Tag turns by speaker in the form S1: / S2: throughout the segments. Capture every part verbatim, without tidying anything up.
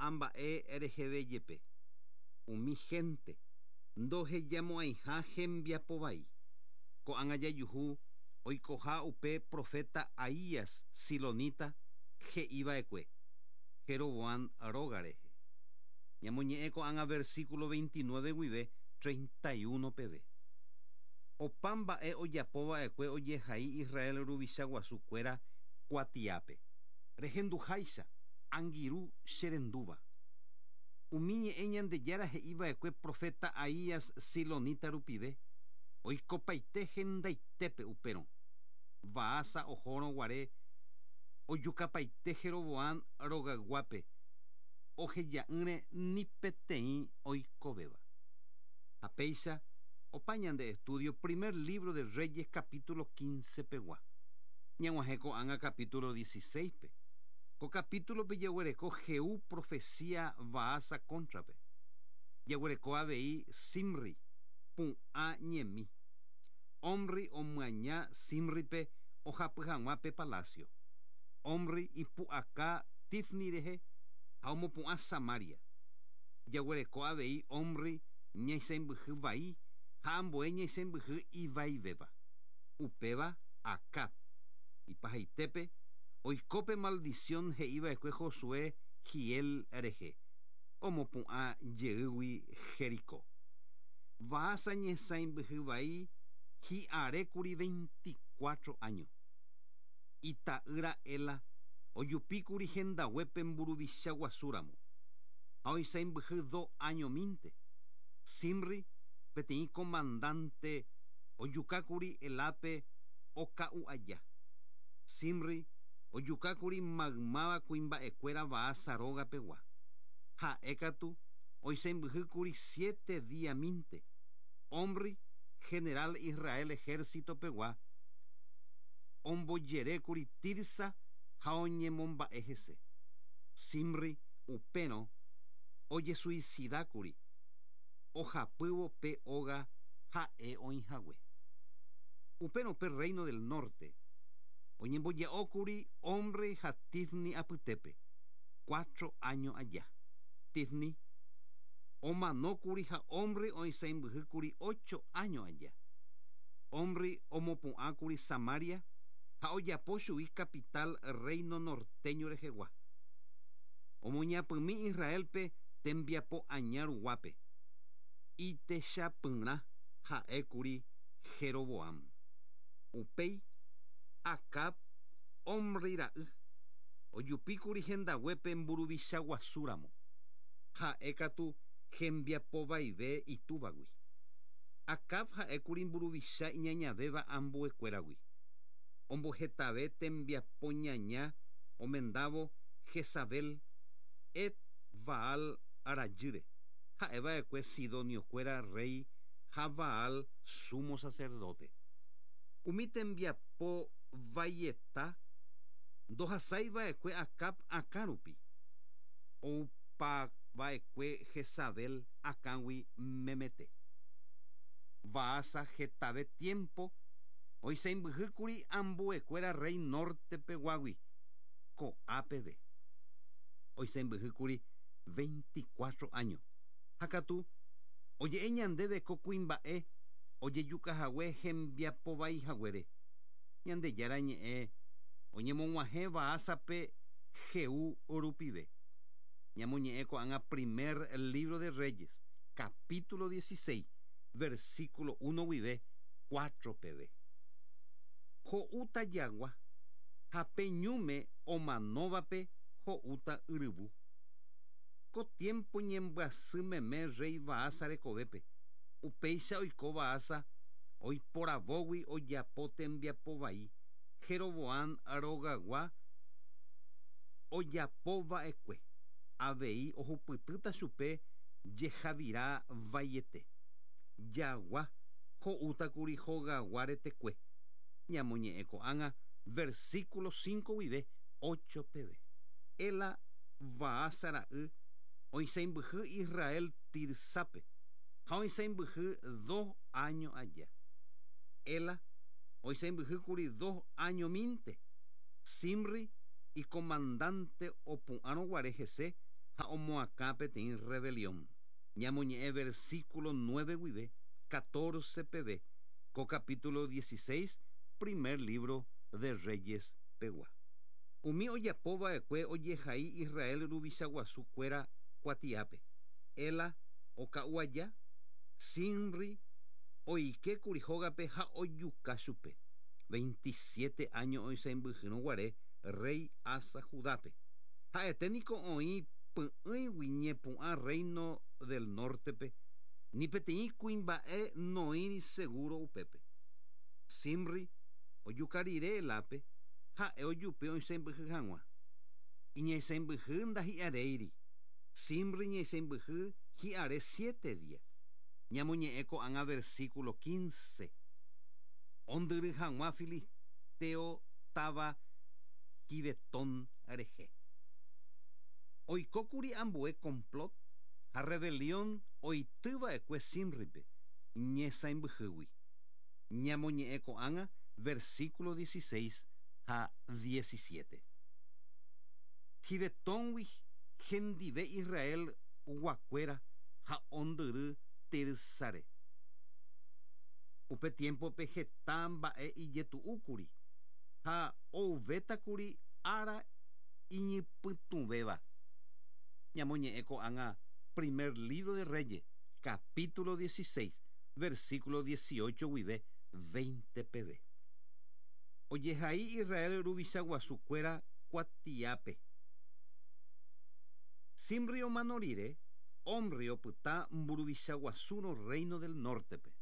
S1: Ko'ã mba'e reheve jepe. Umi gente ndohejamo'ãiha hembiapo vai. Ko'ág̃a jajuhu oikoha upe profeta Ahías silonita he'iva'ekue Jeroboam róga rehe. Ñamoñe'ẽ ko'ág̃a versículo veintinueve guive treinta y uno peve. Opa mba'e ojapova'ekue ojehai Israel ruvicha guasukuéra kuatiápe. Rehenduháicha angirũ cherendúva. Umi ñe'ẽ Ñandejára he'iva'ekue profeta Ahías silonita rupive oikopaite hendaitépe upérõ. Baasa ohórõ guare ojukapaite Jeroboam rogayguápe oheja'ỹre ni peteĩ oikovéva. Ha péicha opa ñande estudio primer libro de Reyes capítulo quince pegua. Ñag̃uahẽ ko'ág̃a capítulo dieciséis pe. Ko capítulo pe jaguereko Jehú profecía Baasa cóntrape. Jaguereko avei Zimri pu'ã ñemi. Omri omyaña Zimripe ohapy hag̃ua pe palacio. Omri ipu'aka Tifni rehe ha omopu'ã Samaria. Jaguereko avei Omri ñaisãmbyhy vai ha ambue ñaisãmbyhy ivaivéva. Upéva Acab. Ipahaitépe oikópe maldición he'iva'ekue Josué Hiel rehe. Omopu'ã jeýgui Jericó. Baasa ñesãimbyhy vai hi'arékuri veinticuatro años. Ita'ýra Ela ojupíkuri hendaguépe mburuvicha guasúramo. Ha oisãimbyhy dos años mínte. Zimri peteĩ comandante ojukákuri Elápe oka'u aja. Zimri ojukákuri maymáva kuimba'ekuéra Baasa rógapegua. Ha'e katu oisãmbyhýkuri siete día mínte. Omri general Israel ejército pegua ombojerékuri Tirsa ha oñemomba'e hese. Zimri upérõ ojesuicidákuri ohapývo pe óga ha'e oĩhague. Upérõ pe reino del norte oñemboja'ókuri Omri ha Tifni apytépe cuatro años aja. Tifni omanókuri ha Omri oisãmbyhýkuri ocho años aja. Omri omopu'ãkuri Samaria ha ojapo chugui capital reino norteño rehegua. Omoñapymi Israelpe tembiapo aña ruguápe. Itechapyrã ha'ékuri Jeroboam. Upéi Acab Omri ra'y ojupíkuri hendaguépe mburuvicha guasúramo. Ha'e katu hembiapo vaive itúvagui. Acab ha'ékuri mburuvicha iñañavéva ambuekuéragui. Ombohetave tembiapo ñaña omendávo Jezabel et Baal rajýre. Ha'eva'ekue sidoniokuéra rey ha Baal sumo sacerdote. Umi tembiapo vaieta ndohasaiva'ekue Acab akã rupi. Oupava'ekue Jezabel akãgui memete. Baasa hetave tiempo oisãmbyhýkuri ambuekuéra rey norte peguágui ko'a peve. Oisãmbyhýkuri veinticuatro años. Ha katu oje'e ñandéve ko kuimba'e ojejukahague hembiapo vaihaguére. Ñandejára ñe'ẽ oñemog̃uahẽ Baasape Jehú rupive. Ñamoñe'ẽ ko'ág̃a primer libro de Reyes, capítulo dieciséis, versículo uno guive cuatro peve. Ho'úta jagua ha pe ñúme omanóvape ho'úta yryvu. Ko tiempo ñembyasy meme rey Baasa rekovépe. Upéicha oiko Baasa oiporavógui ojapo tembiapo vai Jeroboam rogagua ojapova'ekue. Avei ohupytýta chupe jehavira vaiete. Jagua ho'útakuri hogagua retekue. Ñamoñe'ẽ ko'ág̃a versículo cinco guive ocho peve. Ela Baasa ra'y oisãmbyhy Israel Tirsápe ha oisãmbyhy dos años aja. Ela oisãmbyhýkuri dos años mínte. Zimri y comandante opu'ãrõ guare hese Ha omoakã peteĩ rebelión. Ñamoñe'ẽ versículo nueve guive, catorce peve, ko capítulo dieciséis, primer libro de Reyes pegua. Umi ojapova'ekue ojehai Israel ruvicha guasukuéra kuatiápe. Ela oka'u aja, Zimri oikékuri hógape ha ojuka chupe. veintisiete años oisãmbyhýrõ guare rey Asa Judápe. Ha'ete niko oĩ py'ỹigui ñepu'ã reino del nortepe, ni peteĩ kuimba'e noĩri seguro upépe. Zimri ojuka rire Elápe, ha'e ojupi oisãmbyhy hag̃ua. Iñaisãmbyhy ndahi'aréiri. Zimri ñaisãmbyhy hi'are siete día. Ñamoñe'ẽ ko'ág̃a versículo quince. Ondyry hag̃ua filisteo táva Gibetón rehe. Oikókuri ambue complot ha rebelión oitýva'ekue Zimripe ñesãmbyhýgui. Ñamoñe'ẽ ko'ág̃a versículo dieciséis ha diecisiete. Gibetóngui hendive Israel guakuéra ha ondyry Tirsare. Upe tiempope heta mba'e ijetu'úkuri ha ouvétakuri ára iñypytũvéva. Ñamoñe'ẽ ko'ág̃a primer libro de Reyes, capítulo dieciséis, versículo dieciocho guive veinte peve. Ojehai Israel ruvicha guasukuéra kuatiápe. Zimri omano rire, Omri opyta mburuvicha guasúrõ reino del nortepe.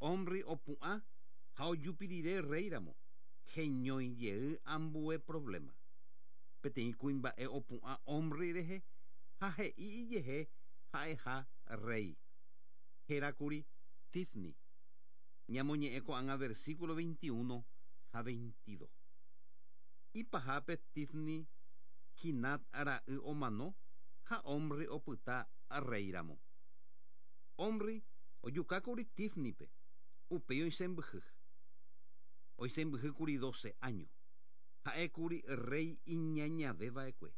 S1: Omri opu'ã ha ojupi rire réiramo, heñói jey ambue problema. Peteĩ kuimba'e opu'ã Omri rehe ha he'i ijehe ha'eha rey. Hérakuri Tifni. Ñamoñe'ẽ ko'ág̃a versículo veintiuno ha veintidós. Ipahápe Tifni Ginat ra'y omano ha Omri opyta réiramo. Omri ojukákuri Tifnipe, upéi oisãmbyhy. Oisãmbyhýkuri doce años. Ha'ékuri rey iñañaveva'ekue.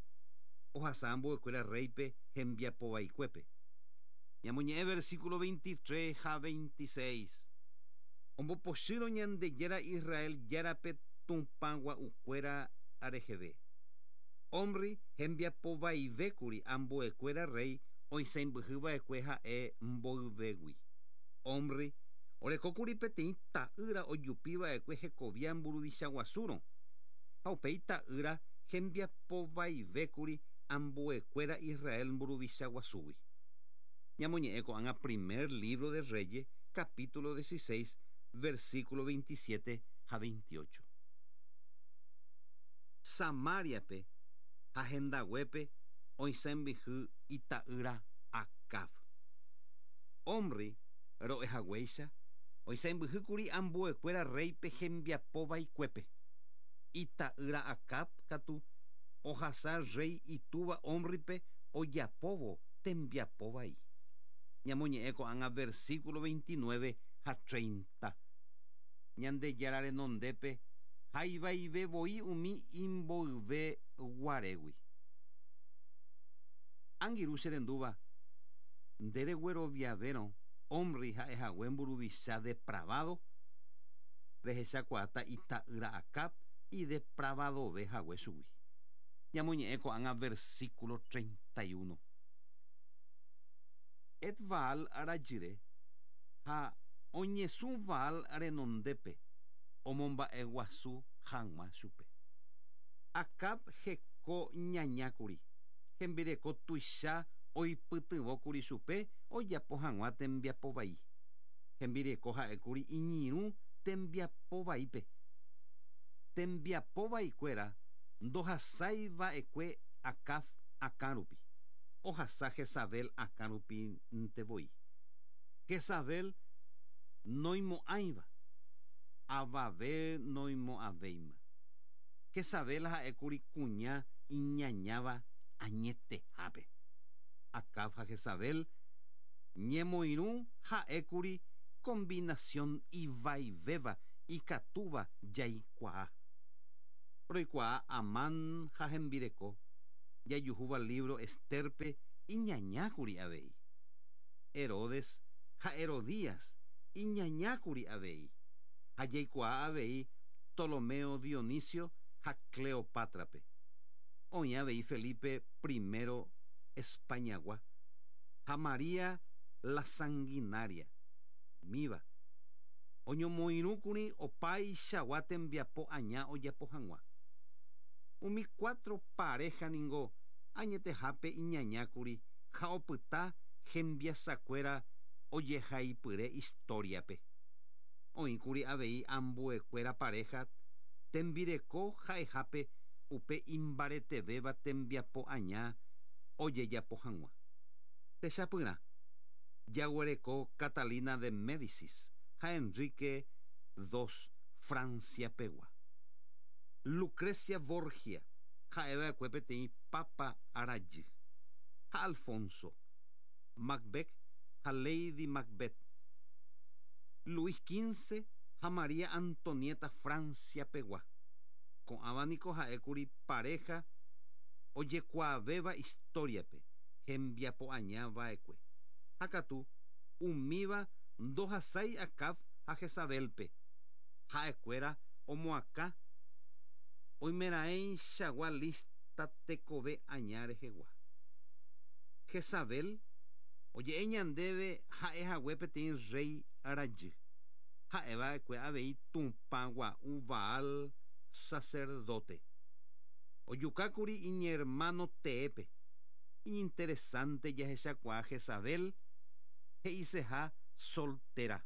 S1: Ohasa ambuekuéra reype hembiapovaikuépe. Ñamoñe'ẽ versículo veintitrés ha veintiséis. Ombopochýrõ Ñandejára Israel járape Tupã gua'ukuéra reheve. Omri hembiapovaivékuri ambuekuéra rey oisãmbyhyva'ekue ha'e mboyvégui. Omri orekókuri peteĩ ta'ýra ojupiva'ekue hekovia mburuvicha guasúrõ. Ha upéi ta'ýra hembiapovaivékuri ambuekuéra Israel mburuvicha guasúgui. Ñamoñe'ẽ ko'ág̃a primer libro de Reyes, capítulo dieciséis, versículo veintisiete ha veintiocho. Samariape ha hendaguépe oisãmbyhy ita'ýra Acab. Omri ro'ehaguéicha oisãmbyhýkuri ambuekuéra reype hembiapovaikuépe. Ita'ýra Acab katu ohasa rey itúva Omripe ojapóvo tembiapovai. Ñamoñe'ẽ ko'ág̃a versículo veintinueve ha treinta. Ñandejára renondépe haivaive voi umi imboyve guarégui. Angirũ che rendúva, nde regueroviavérõ Omri ha'ehague mburuvicha depravado, rehechakuaáta ita'ýra Acab idepravadove hague chugui. Ñamoñe'ẽ ko'ág̃a versículo treinta y uno. Et Baal rajyre ha oñesũ Baal renondépe omomba'eguasu hag̃ua chupe. Acab heko ñañákuri, hembireko tuicha oipytyvõkuri chupe ojapo hag̃ua tembiapovai. Hembireko ha'ékuri iñirũ tembiapovaípe. Tembiapovaikuéra ndohasaiva'ekue Acab akãrupi. Ohasa Jezabel akãrupinte voi. Jezabel noimo'ãiva, avave noimo'ãvéima. Jezabel ha'ékuri kuña iñañáva añetehápe. Acab ha Jezabel ñemoirũ ha'ékuri combinación ivaivéva ikatúva jaikuaa. Roikuaa Amán ha hembireko. Jajuhúva libro Esterpe iñañákuri avei. Herodes ha Herodías iñañákuri avei. Ha jaikuaa avei Ptolomeo Dionisio ha Cleopátrape. Oĩ avei Felipe primero Españagua ha María la Sanguinaria. Umíva oñomoirũkuri opaichagua tembiapo aña ojapo hag̃ua. Umi cuatro pareja ningo añetehápe iñañákuri ha opyta hembiasakuéra ojehaipyre historiape. Oĩkuri avei ambuekuéra pareja tembireko ha'ehápe upe imbaretevéva tembiapo aña ojejapo hag̃ua. Techapyrã jaguereko Catalina de Médicis ha Enrique segundo Francia pegua. Lucrecia Borgia ha'eva'ekue peteĩ papa arajy. Ha Alfonso Macbeth ha Lady Macbeth. Luis quince ha María Antonieta Francia pegua. Ko'ãva niko ha'ékuri pareja ojekuaavéva historiape hembiapo aña va'ekue. Ha katu umíva ndohasái Acab ha Jezabelpe. Ha'ekuéra omoakã oimeraẽichagua lista tekove aña rehegua. Jezabel oje'e ñandéve ha'ehague peteĩ rey rajy. Ha'eva'ekue avei Tupã gua'u Baal sacerdote. Ojukákuri iñermano teépe. Iñinteresante jahechakuaa Jezabel he'iseha soltera.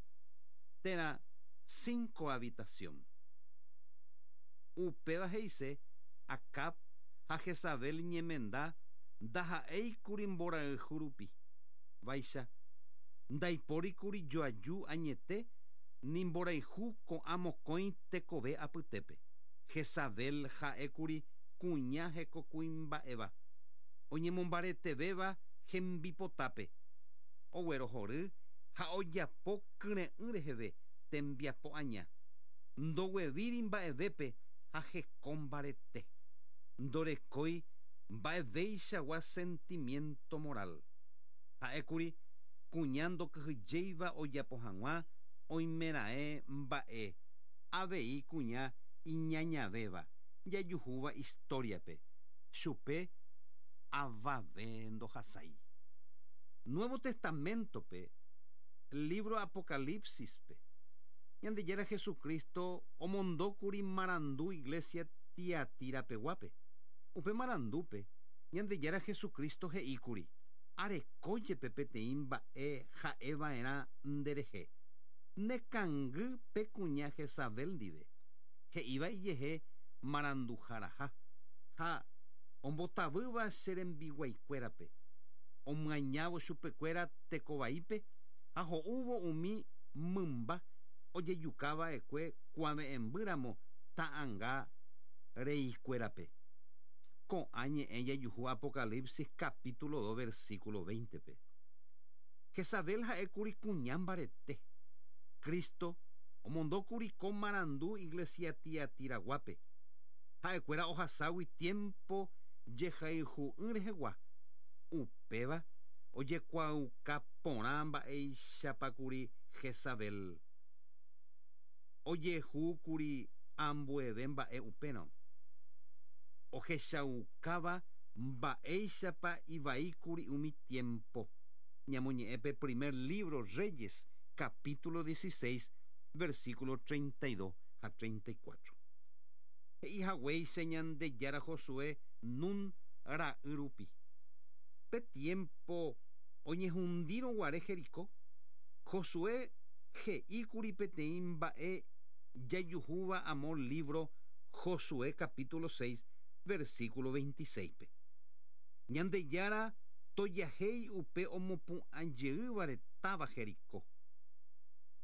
S1: Térã sin cohabitación. Upéva he'ise Acab ha Jezabel ñemenda ndaha'éikuri mborayhu rupi. Vaicha ndaipórikuri joaju añete ni mborayhu ko'ã mokõi tekove apytépe. Jezabel ha'ékuri kuña hekokuimba'éva oñemombaretevéva hembipotápe. Oguerohory ha ojapo kyre'ỹ reheve tembiapo aña. Ndoguevíri mba'evépe ha heko mbarete. Ndorekói mba'evéichagua sentimiento moral. Ha'ékuri kuña ndokyhyjéiva ojapo hag̃ua oimeraẽ mba'e avei kuña iñañavéva jajuhúva historiape. Chupe avave ndohasái. Nuevo Testamentope, libro Apocalipsispe, Ñandejára Jesucristo omondókuri marandu iglesia Tiatira peguápe. Upe marandúpe, Ñandejára Jesucristo he'íkuri, arekójepe peteĩ mba'e ha'eva'erã nderehe. Nekangy pe kuña Jezabel ndive. He'íva ijehe maranduharaha. Ha ombotavýva che rembiguaikuérape. Omyañávo chupekuéra tekovaípe ha ho'úvo umi mymba ojejukava'ekue kuave'ẽmbýramo ta'ãnga reikuérape. Ko'ã ñe'ẽ jajuhu Apocalipsis capítulo dos versículo veinte-pe. Jezabel ha'ékuri kuña mbarete. Cristo omondókuri ko marandu iglesia Tiatiraguápe. Ha'ekuéra ohaságui tiempo jehayhu'ỹ rehegua. Upéva ojekuaauka porã mba'eichapakuri Jezabel. Ojehúkuri ambueve mba'e upérõ. Ohechaukáva mba'éichapa ivaíkuri umi tiempo. Ñamoñe'ẽpe primer libro Reyes, capítulo dieciséis, versículo treinta y dos ha treinta y cuatro. He'ihaguéicha Ñandejára Josué Nun ra'y rupi. Pe tiempo oñehundírõ guare Jericó, Josué he'íkuri peteĩ mba'e jajuhúva amo libro Josué capítulo seis, versículo veintiséis-pe. Ñandejára tojahéi upe omopu'ãjeývare táva Jericó.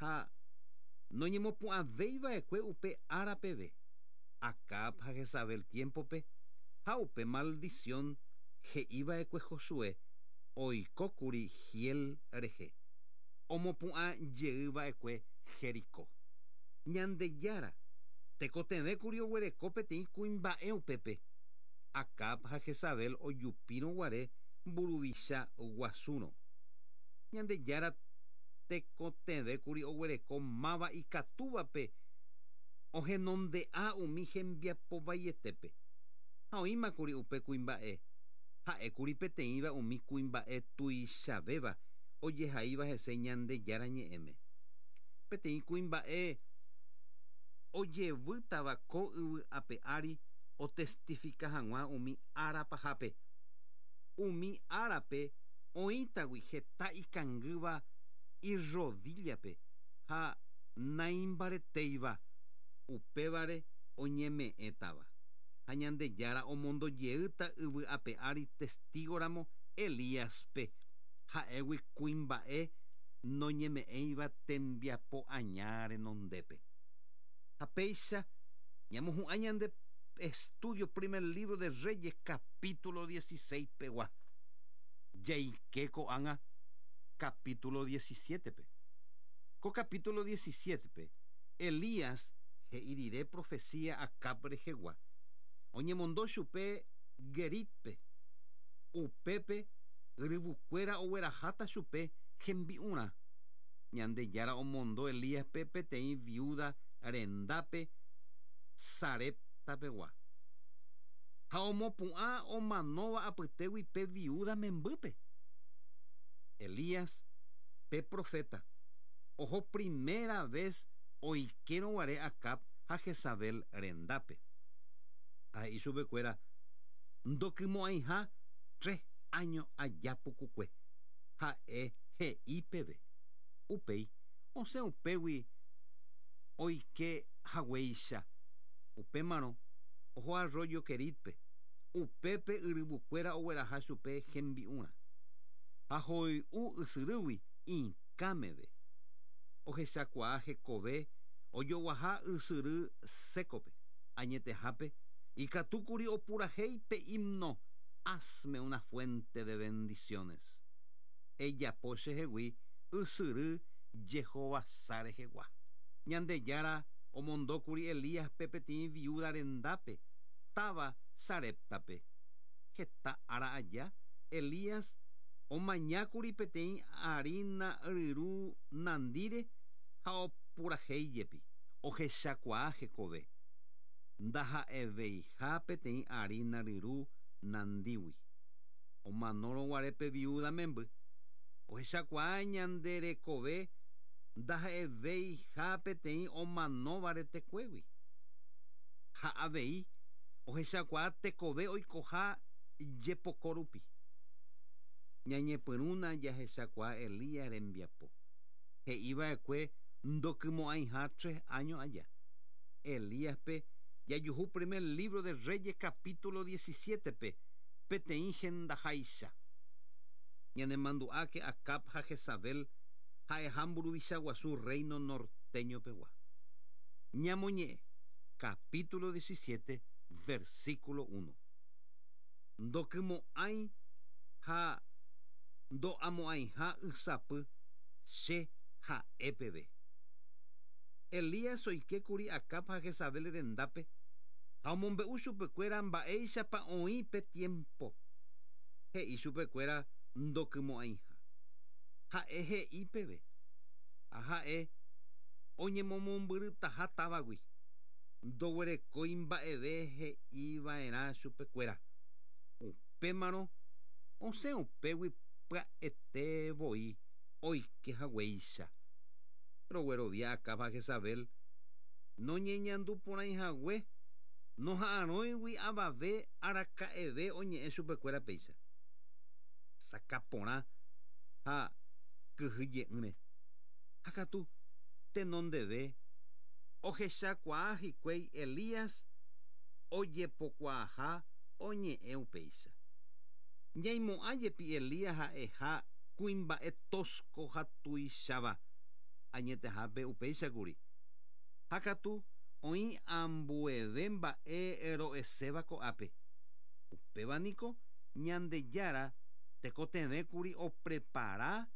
S1: Ha noñemopu'ãvéiva'ekue upe ára peve. Acab ha Jezabel tiempope ha upe maldición he'íva'ekue Josué oikókuri Hiel rehe. Omopu'ãjeýva'ekue Jericó. Ñandejára tekotevẽkuri oguereko peteĩ kuimba'e upépe. Acab ha Jezabel ojupírõguare mburuvicha guasúrõ. Ñandejára tekotevẽkuri oguereko máva ikatúvape ohenonde'a umi hembiapovaietépe. Ha oĩmakuri upe kuimba'e. Ha'ékuri peteĩva umi kuimba'e tuichavéva ojehaíva hese Ñandejára ñe'ẽme. Peteĩ kuimba'e ojevýtava ko yvy ape ári otestifika hag̃ua umi ára pahápe. Umi árape oĩtagui heta ikangýva irrodillape ha naimbaretéiva upévare oñeme'ẽtava. Ha Ñandejára omondojeýta yvy ape ári testígoramo Elíaspe ha'égui kuimba'e noñeme'ẽiva tembiapo aña renondépe. Ha péicha ñamohu'ã ñande estudio primer libro de Reyes capítulo dieciséis pegua. Jaike ko'ág̃a capítulo diecisiete pe. Ko capítulo diecisiete pe Elías he'i rire profecía Acab rehegua. Oñemondo chupe Geritpe. Upépe yryvukuéra ogueraháta chupe hembi'urã. Ñandejára omondo Elíaspe peteĩ viuda rendápe Sareptapegua. Ha omopu'ã omanóva apytégui pe viuda membýpe. Elías, pe profeta, oho primera vez oikérõguare Acab ha Jezabel rendápe. Ha he'i chupekuéra ndokymo'ãiha tres años aja pukukue. Ha'e he'i peve. Upéi osẽ upégui oike haguéicha. Upémarõ oho arroyo Keritpe. Upépe yryvukuéra ogueraha chupe hembi'urã. Ha hoy'u ysyrýgui ikãmeve. Ohechakuaa hekove ojoguaha ysyry sékope. Añetehápe ikatúkuri opurahéi pe himno Hazme una fuente de bendiciones. Ejapo chehegui ysyry jehovasa rehegua. Ñandejára omondókuri Elíaspe peteĩ viuda rendápe táva Sareptape. Heta ára aja Elías omañákuri peteĩ harina ryru nandíre ha opurahéijepi. Ohechakuaa hekove. Ndaha'eveiha peteĩ harina ryru nandígui. Omanórõguare pe viuda memby. Ohechakuaa ñande rekove ndaha'eveiha peteĩ omanóva retekuégui. Ha avei ohechakuaa tekove oikoha jepoko rupi. Ñañepyrũna jahechakuaa Elías rembiapo. He'iva'ekue ndokymo'ãiha tres años aja. Elíaspe jajuhu primer libro de Reyes capítulo diecisiete pe peteĩ hendaháicha. Ñanemandu'áke Acab ha Jezabel ha'eha mburuvicha guasu reino norteño pegua. Ñamoñe'ẽ capítulo diecisiete versículo uno. Ndokymo'ãi ha ndo'amo'ãiha ysapy che ha'e peve. Elías oikékuri Acab ha Jezabel rendápe ha omombe'u chupekuéra mba'éichapa oĩ pe tiempo. He'i chupekuéra ndokymo'ãiha. Ha'e he'i peve. Ha ha'e oñemomombyrytaha távagui. Ndoguerekói mba'eve he'iva'erã chupekuéra. Upémarõ osẽ upégui pya'ete voi oike haguéicha. Roguerovia Acab ha Jezabel noñeñanduporãihague noha'arõigui avave araka'eve oñe'ẽ chupekuéra péicha. Sakaporã ha kyhyje'ỹre. Ha katu tenondeve ohechakuaa hikuái Elías ojepokuaaha oñe'ẽ upéicha. Ñaimo'ã jepi Elías ha'eha kuimba'e tosco ha tuicháva añetehápe upéichakuri. Ha katu oĩ ambueve mba'e ro'eséva ko'ápe. Upéva niko Ñandejára tekotevẽkuri oprepara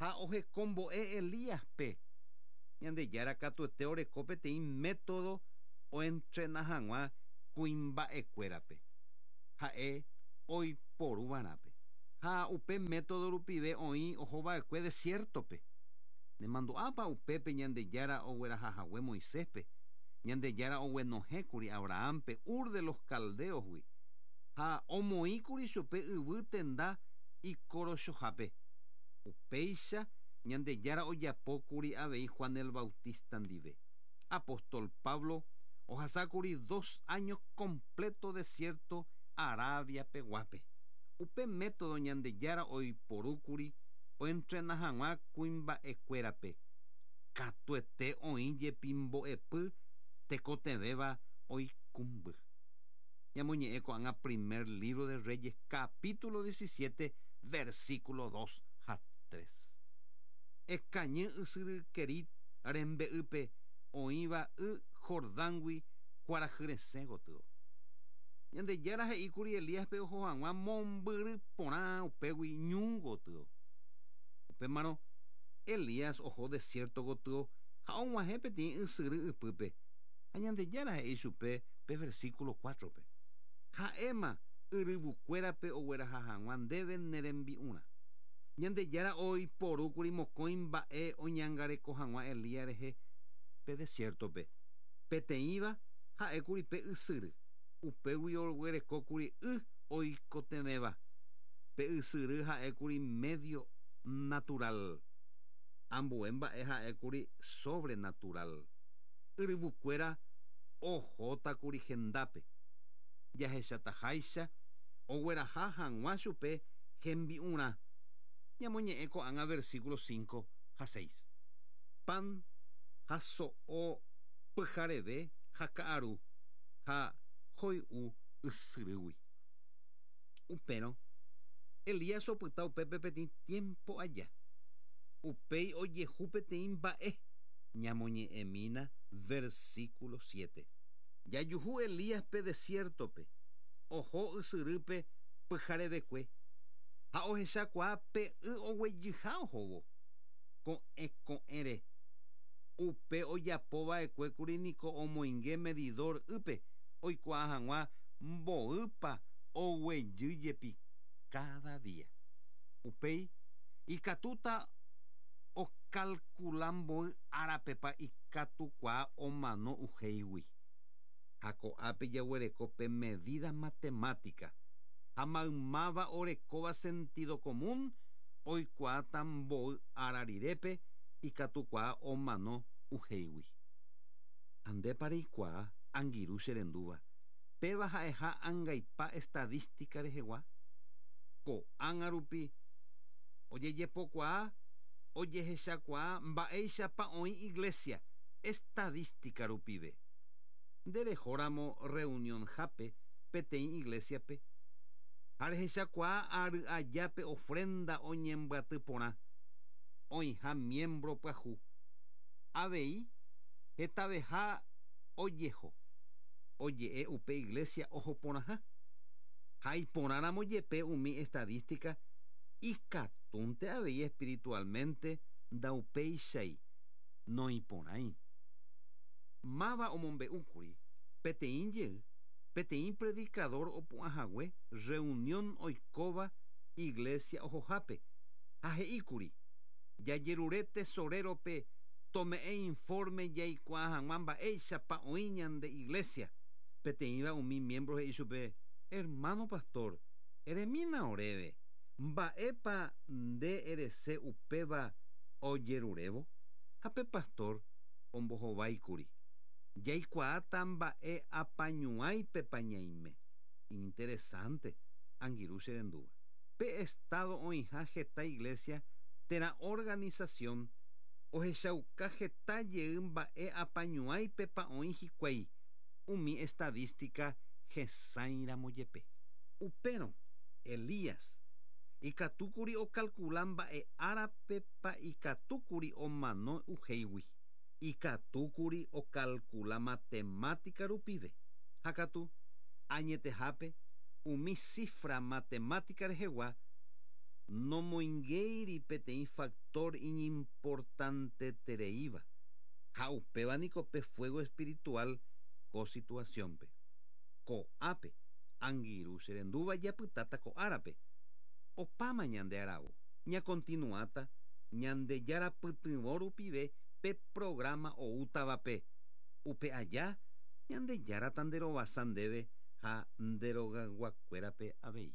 S1: ha ohekombo'e Elíaspe. Ñandejára katuete oreko peteĩ método oentrena hag̃ua kuimba'ekuérape. Ha'e oiporuva'erãpe. Ha upe método rupive oĩ ohova'ekue desiertope. Nemandu'ápa upépe Ñandejára oguerahahague Moiséspe. Ñandejára oguenohẽkuri Abrahampe Ur de los Caldeosgui. Ha omoĩkuri chupe yvy tenda ikorochohápe. Upéicha Ñandejára ojapókuri avei Juan el Bautista ndive. Apóstol Pablo ohasákuri dos años completo desierto Arabia peguápe. Upe método Ñandejára oiporúkuri oentrena hag̃ua kuimba'ekuérape. Katuete oĩ jepi mbo'epy tekotevẽva oikũmby. Ñamoñe'ẽ ko'ág̃a primer libro de Reyes capítulo diecisiete versículo dos ha tres. Ekañy ysyry Kerit rembe'ýpe oĩva y Jordángui kuarahyresẽ gotyo. Ñandejára he'íkuri Elíaspe oho hag̃ua mombyry porã upégui ñu gotyo. Upémarõ Elías oho desierto gotyo ha og̃uahẽ peteĩ ysyry ypýpe. Ha Ñandejára he'i chupe pe versículo cuatrope. Ha'éma yryvukuérape ogueraha hag̃ua ndéve ne rembi'urã. Ñandejára oiporúkuri mokõi mba'e oñangareko hag̃ua Elías rehe pe desiertope. Peteĩva ha'ékuri pe ysyry. Upégui oguerekókuri y oikotevẽva. Pe ysyry ha'ékuri medio natural. Ambue mba'e ha'ékuri sobrenatural. Yryvukuéra ohótakuri hendápe. Jahechataháicha ogueraha hag̃ua chupe hembi'urã. Ñamoñe'ẽ ko'ág̃a versículo cinco ha seis. Pan ha so'o pyhareve ha ka'aru ha hoy'u ysyrýgui. Upérõ Elías opyta upépe peteĩ tiempo aja. Upéi ojehu peteĩ mba'e. Ñamoñe'ẽmína versículo siete. Jajuhu Elíaspe desiertope. Oho ysyrýpe pyharevekue. Ha ohechakuaa pe y oguejyha ohóvo. Ko'ẽ ko'ẽre. Upe ojapova'ekuékuri niko omoinge medidor ýpe oikuaa hag̃ua mboýpa oguejy jepi cada día. Upéi ikatúta ocalcula mboy árapepa ikatukuaa omano uhéigui. Ha ko'ápe jaguereko pe medida matemática. Ha maymáva orekóva sentido común oikuaáta mboy ára rirépe ikatukuaa omano uhéigui. Ha ndépa reikuaa angirũ che rendúva. Péva ha'eha angaipa estadística rehegua. Ko'ág̃a rupi ojejepokuaa ojehechakuaa mba'éichapa oĩ iglesia estadística rupive. Nderehóramo reunionhápe peteĩ iglesiape ha rehechakuaa ary ajápe ofrenda oñembyaty porã oĩha miembro pyahu. Avei hetaveha ojeho oje'e upe iglesia oho porãha. Ha iporãramo jepe umi estadística ikatúnte avei espiritualmente ndaupéichai noiporãi. Máva omombe'úkuri peteĩ jey peteĩ predicador opu'ãhague reunión oikóva iglesia ohohápe ha he'íkuri jajerure tesorerope tome'ẽ informe jaikuaa hag̃ua mba'éichapa oĩ ñande iglesia. Peteĩva umi miembro he'i chupe hermano pastor eremína oréve mba'épa nde erese upéva ojerurévo. Ha pe pastor ombohováikuri jaikuaáta mba'e apañuãipepa ñaime. Interesante angirũ che rendúva. Pe estado oĩha heta iglesia térã organización ohechauka heta jey mba'e apañuãipepa oĩ hikuái umi estadística hesãiramo jepe. Upérõ Elías ikatúkuri ocalcula mba'e árapepa ikatúkuri omano uhéigui. Ikatúkuri ocalcula matemática rupive. Ha katu añetehápe umi cifra matemática rehegua nomoingéiri peteĩ factor iñimportantetereíva. Ha upéva niko pe fuego espiritual ko situaciónpe. Ko'ápe Angirũ cherendúva japytáta ko árape. Opáma ñande aravo. Ñakontinuáta Ñandejára pytyvõ rupive pe programa oútavape. Upe aja Ñandejára tanderovasa ndéve ha nderogayguakuérape avei.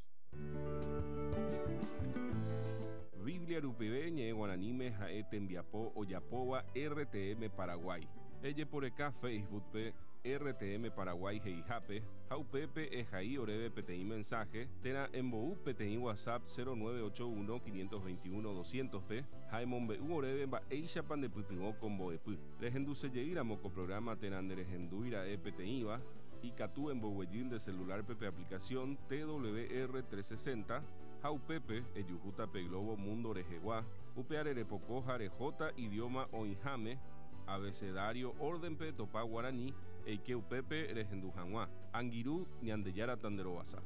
S2: Biblia rupive ñe'ẽ guaraníme ha'e tembiapo ojapóva R T M Paraguay. Ejeporeka Facebook-pe R T M Paraguay he'ihápe ha upépe ehai oréve peteĩ mensaje térã embou peteĩ WhatsApp cero nueve ocho uno quinientos veintiuno doscientos-pe ha emombe'u oréve mba'éichapa ndepytyvõ ko mbo'epy. Rehendusejeýramo ko programa térã nderehendúira'e peteĩva, ikatu emboguejy nde celular-pe pe aplicación T W R trescientos sesenta ha upépe ejuhúta pe globo mundo rehegua, upe repoko ha rehóta idioma oĩháme abecedario orden-pe topa guaraní eike upépe rehendu hag̃ua. Angirũ, Ñandejára tanderovasa.